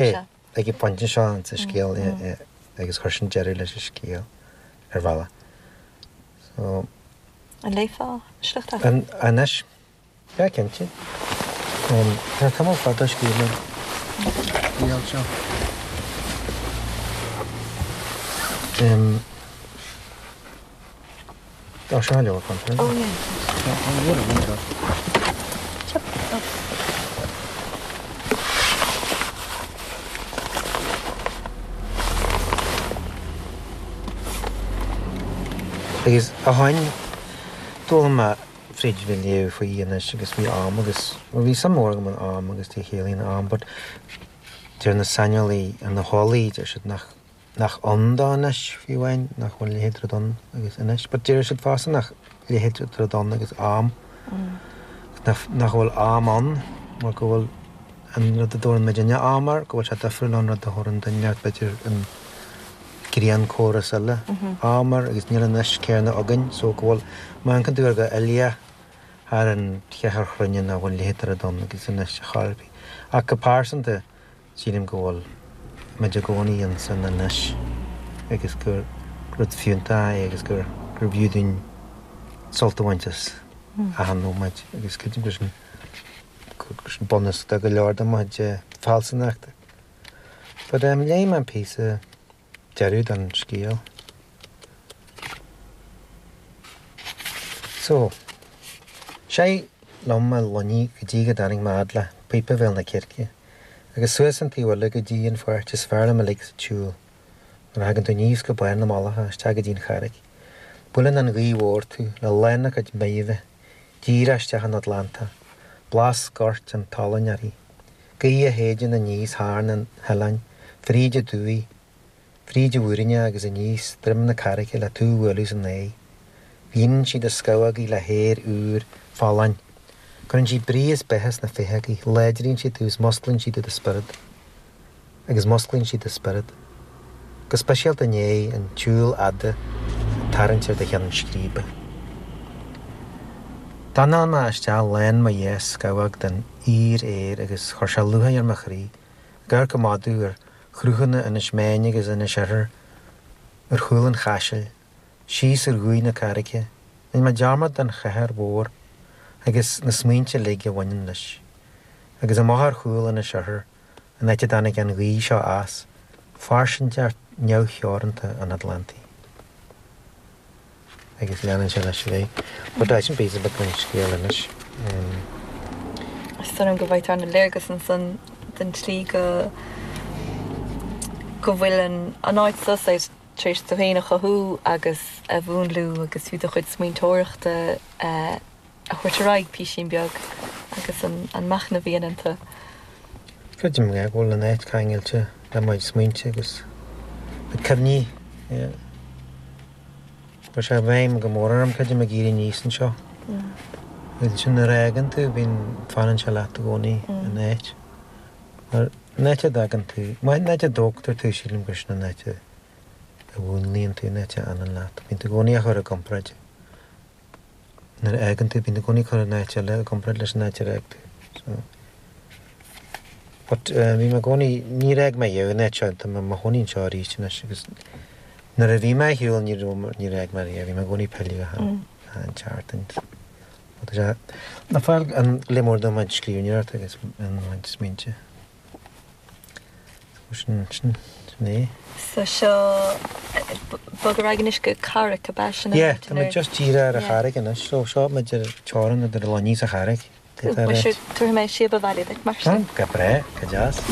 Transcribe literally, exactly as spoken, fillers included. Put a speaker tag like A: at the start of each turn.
A: É, ag an bpointe seo sa scéal agus chuir sin deireadh leis an scéal ar bhealach. So.
B: An léifeá sliocht as?
A: Anois, yeah, cinnte. Tá tamall fada scríobh mé an scéal seo. Tá seo leabhar contae.
B: Oh yeah.
A: Tá an leabhar agam anseo. Agus ó shin, d'fhoghlaim mé fríd bheith ag léamh faoi anois agus faoi am agus, bhuel bhí suim mhór agam in am agus cad a chiallaíonn am but deir na saineolaí, na heolaí, deir siad nach, nach ann dó anois fiú amháin, nach bhfuil a leithéid de rud ann agus anois, but deir siad fosta nach leithéid de rud ann agus am, nach, nach bhfuil am ann mar go bhfuil an rud a dtabharann muidinne am air, go bhfuil sé difriúil ón rud a thabharann duine b'fhéidir an grianchóras eile am air agus níl an anois céanna againn so go bhfuil, má amharcann tú air go uilíoch thar an cheathairchruinne nach bhfuil a leithéid de rud ann agus anois ar chor ar bith. Ach go pearsanta sílim go bhfuil muid i gcónaí ansan anois agus gur rud fiúntach é agus gur gurbh fhiú dúinn sult a bhaint as achan nóiméad agus creidim gur sin gur sin bunús do go leor de mo chuid fealsúnachta. But um, léigh mé an píosa deireadh den scéal. So, sé liom mo loinnigh go dtí go dtáinig mé fhad le píopa Bhéal na Circe, agus suas an taobh eile go dtí an pháirt is fearr liom uilig sa tsiúl, nuair a thagann tú aníos go barr na mullacha isteach go dtí an charraig. Buaileann an ghaoth mhór tú le lán a cuid meidhmhe, díreach isteach an Atlantach, blas goirt an tolainn uirthi, gaoth a shéideann aníos thar na hoileáin, fríd aduaidh, fríd an mhúirne agus aníos droim na carraice le tú a bhualadh san aghaidh. Líonann sí do scamhógaí le haer úr, folláin. Cuireann sí brí is beatha sna féitheogaí, láidríonn sí tú is musclaíonn sí do do spiorad. Agus musclaíonn sí do spiorad. Go speisialta i ndiaidh an tsiúil fhada ag tarraingt ar do cheann scríbe. D'anáil mé isteach lán mo dhá scamhóg den fhíor-aer agus chuir sé lúcháir ar mo chroí, ag amharc ag madadh ar chruthanna Inis Meáin agus Inis Oirthir ar chúl an chaisil, síos ar dhumhaigh na carraige, rinne mé dearmad den chathair mhór agus na smaointe uilig a bhaineann leis. Agus amach ar chúl Inis Oirthir, an áit a dtáinig an ghaoth seo as, fairsingeacht neamhtheoranta an Atlantaigh. Agus leanann sé leis ar aghaidh. But sin píosa beag den scéal anois.
B: Is dóigh liom go bhfaightear an-léargas ansan den tslí go go bhfuil an an áit seo saghas tar éis tú féin a chothú agus a mhúnlú agus fiú do chuid smaointeoireachta a thabhairt ar aghaidh písín beag agus an an machnamh a dhéanann tú.
A: Creidim go bhfuil an áit ceangailte le mo chuid smaointe agus na cuimhní. Yeah. Chuir sé i bhfeidhm go mór orm, creidim, ag éirí aníos anseo. Ansin nuair a fhágann tú, bíonn, fanann sé leat i gcónaí, an áit. Mar an áit a dtagann tú, an áit a dtógtar tú, sílim gur sin an áit a mhúnlaíonn tú, an áit a fhanann leat. Bíonn tú i gcónaí á chur i gcomparáid. Nuair a fhágann tú, bíonn tú i gcónaí ag cur an áit eile i gcomparáid leis an áit ar fhág tú. So, but bhí mé i gcónaí, níor fhág mé riamh an áit seo, tá mé i mo chónaí anseo arís anois agus nuair a bhí mé ar shiúl ní raibh, níor fhág mé riamh, bhí mé i gcónaí ag pilleadh achan, achan tseachtain. But tá sé, ag fáil an le mór dom an scríbhneoireacht agus an smaointe. Sin, sin, sin é.
B: So seo, bog ar aghaidh anois go Carraig, ab ea sin an
A: Yeah, tá muid just díreach ar an charraig anois, so seo muid ar teorainn idir Luinnigh is an Charraig.
B: Bhuel, tabharfaidh mé síob abhaile duit mar sin.
A: Go breá, go deas.